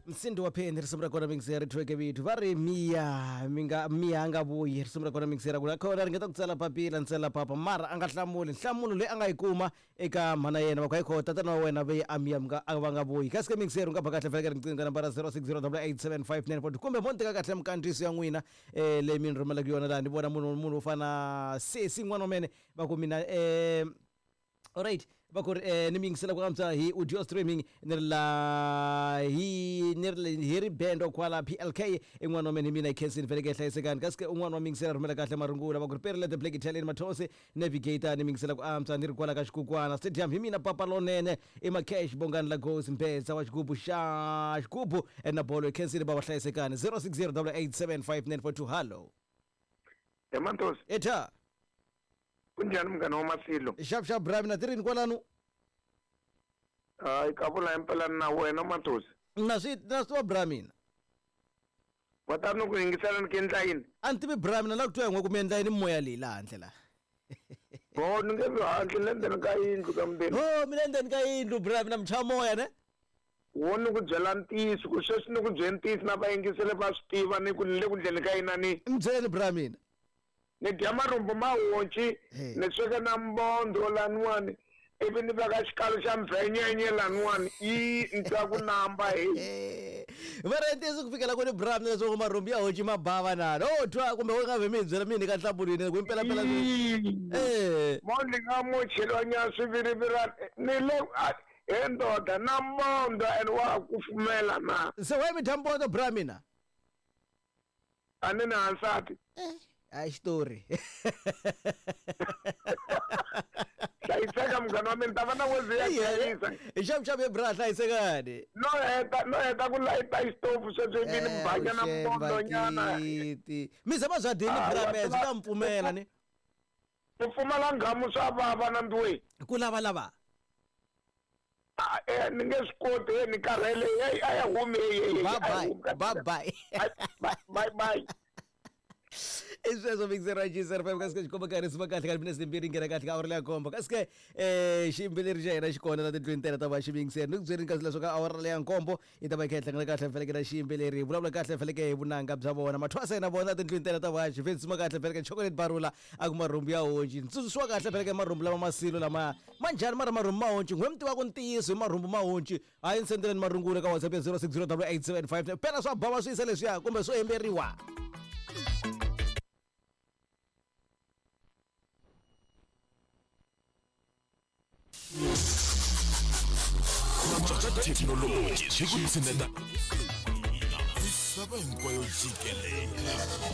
Msindo wa pheni risimu ra kona mixer ri thweke vito va ri miya mi nga miya a nga vuyi risimu ra kona mixer ku kona ringeta ku tsala papila ni tsala papa mara a nga hlamuli nhlamulo leyi a nga yi kuma eka mhana yena va ku hayi kho tatana wa wena ve a miya mi nga a va nga vuyi kasi ke mixer u nga ba kahle faneke riqingho ka nambara 0608875942 kumbe mo ni teka kahle mikandziyiso ya n'wina um leyi mi ni rhumelaka yona laha ni vona munhu munhu wo fana sesi n'wana wa mene va ku mina um alright va ku ri ni mi yingisela ku antswa hi audio streaming ni ri la hi ni ri hi ri bendo kwala PLK i n'wana wa mina hi mina hi khensini vhele ke hlayisekani kasi ke un'wana wa mi yingisela rhumela kahle marungula va ku ri Perle the Black Italian Mathonsi Navigator ni mi yingisela ku antswa ni ri kwala ka xikukwana stadium hi mina papa lonene i Macash Bongani Lagos Mbedza wa xigubu xa xigubu na bolo hi khensini va va hlayisekani 0608875942 hallo He Mantosi, etha kunjhani munghana wa Masilo? Xap xap bra mina ti rini kwalano? Hayi ka vula impela na wena Mantosi. Na swi na swi tiva bra mina. Wa ta ni ku yingisela ni ku endla yini? A ni tivi bra mina la ku twa hi n'we ku mi endla yini moya leyi laha handle laha. Bo ni nge vi handle ni le ndzeni ka yindlu ka mundeni. Oh mi le ndzeni ka yindlu bra mina mi chava moya ne? Wo ni ku byela ntiyiso ku sweswi ni ku byele ntiyiso na vayingiseli va swi tiva ni ku ni le ku ndleni ka yina ni. Mi byeleni bra mina. Ni dya marhumbu ma honci, ni sweka na mbondho laniwani, ivi ni veka xikalu xa mbvenyenye laniwani, yi ni twa ku namba heyi. Va ri ntiyiso ku fikela kwini bra mina leswaku marhumbu ya honci ma bava na no twa kumbe u nga vhe mi hi byela mi hi nyika nhlamulo yini ku impela pela eh Mondli nga mo cheliwa nyana swivirivirani ni le he ndoda na mbondho and wa ha kufumela na. Se why mi dya mbondho bra mina? A ni na nsati. Hayi xitori. Hlayiseka munghana wa mina ta va na wezi ya hlayisa. Hi xavu xavu ye bra hlayisekani. No heta no heta ku layita xitofu sweswo ivi ni banya na mbondo nyana. Mi zama bya dini bra me byi ta mi pfumela ni. Ku pfumala nghamu swa vava na mbiwe. Ku lava lava. Ah, eh, ni nge swi koti eh, ni karhele hey, a ya humi hey, hey, hey, Bye a ya bye. humi ka Bye bye. bye bye bye i sweswo mixer wa GCR 5 kasi ke xikomba karhi sima kahle ka minese timbirhi nghena kahle ka awara leya nkombo kasi ke um xiyimbeleri xa hina xi kona la tindlwini ta hina ta va xiyingiseri ni ku byeleni kasi leswaku ka awara leya nkombo yi ta va yi kha yi hlangana kahle feleke na xiyimbeleri hi vulavula kahle feleke hi vunanga bya vona mathwasa na vona tindlwini ta hina ta va xivensima kahle feleke chocolate barula a ku marhumbu ya honci ntsundzuxiwa kahle feleke marhumbu lama masilo lama ma njhani mara marhumbu ma honci n'we mi tivaka ntiyiso hi marhumbu ma honci hayi ni sendeleni marungula ka whatsapp ya 06088759 phela swa bava swi yisa leswiya kumbe swo hemberiwa Thekinoloji swi ku tshineta misava hinkwayo jikelele.